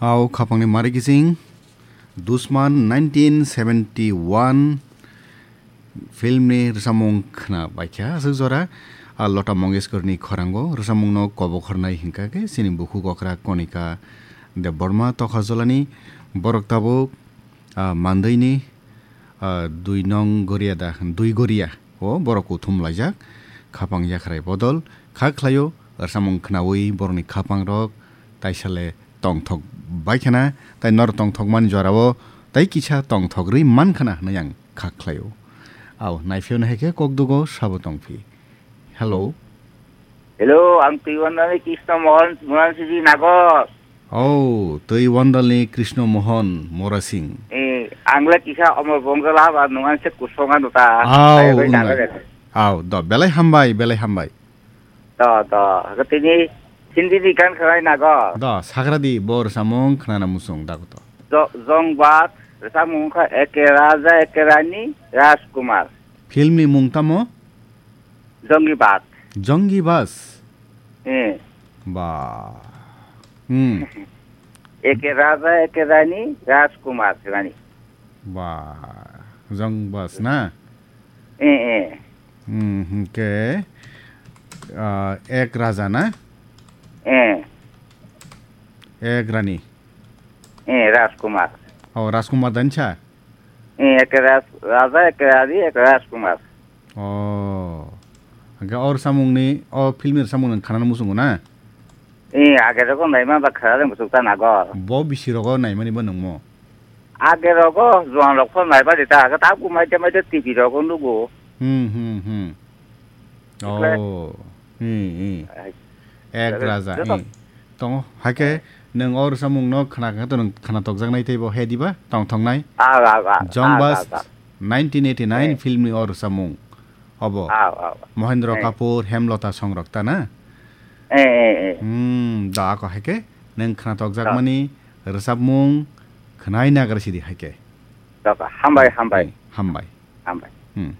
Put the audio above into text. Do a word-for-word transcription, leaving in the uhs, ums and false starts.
Au khapangni mari kising Dusman nineteen seventy one filmni rwchapmung khna baikha aswk jora, a Lota Mongeshkarni khorango rwchapmungno kobokhornai hinkha khe chini bukhuk okra Konika Debbarma Tokharjolani borok tabuk, a, Manduini, a, dui nong Goria da, dui Goria o borok kuthum laijak, khapang yakhrai bodol kha khlaio, rwchapmung khnaui borokni khapangrok taisale tongthok baikhana, tai nor tongthokmani jorao tai kisa tongthok rwi mankhana hwnwi ang kha khlaio. Au, naiphiyo nahai khe kokdugo sabo tongphi. Hello. Hello, ang Twiwandalni Krishna Mohan Murasingji Nagor. Oh, Twiwandalni Krishna Mohan Murasing. Eh, ang le kisa Omor Bongjala ba nungan se kusonga nuta. Au, Ai, bai unai. Nagor. Au, do, belai hambai, belai hambai. Do, do, tini Hindi ni gan kharai Nagor. Do, sagradi bo rwchapmung khnana muchung dago to. Do, Jongbad, rwchapmung kha Eke Raja, Eke Rani, Rajkumar. Filmni mung tamo? Jongibas. Jongibas? Eh. Ba. Hmm. Eke Raja, Eke Rani, Rajkumar Rani. Ba. Jongbas na? Eh, eh. Hmm, hingke, ah, Ek Raja na? Eh. Ek Rani. Eh, Rajkumar. Oh, Rajkumar dansa? Eh, Eke Raj-, Raja, Eke Rani, Eke Rajkumar. Oh. Hingke o rwchapmungni, o filmni rwchapmungni khanana muchungo na? Eh, age rogo naima ba kharare muchuk ta Nagor. Bo bisi rogo naimani bo nungmo? Age rogo juan rok phano naiba di ta, age ta bu maite maite T V rogo nugo. Hmm, hmm, hmm. Ikle. Oh. Hmm, hmm. Ai. Ek Raja, joto. Hmm. Tongo, haike nwng o rwchapmungno khna khe to nwng khna tokjaknai teibo he diba? Tongthoknai? Ah, ah, ah, ah, Jongbas ah, ah. nineteen eighty nine Eh. Filmni o rwchapmung. Obo. Ah, ah, ah. Mohendra Eh. Kapoor, Hemlata songrok ta na? Eh, eh, eh. Hmm, da ako haike nwng khna tokjakmani rwchapmung khnai nagra sidi haike. Joto, hambai, Hmm, hambai. Hmm, hambai. Hambai. Hmm.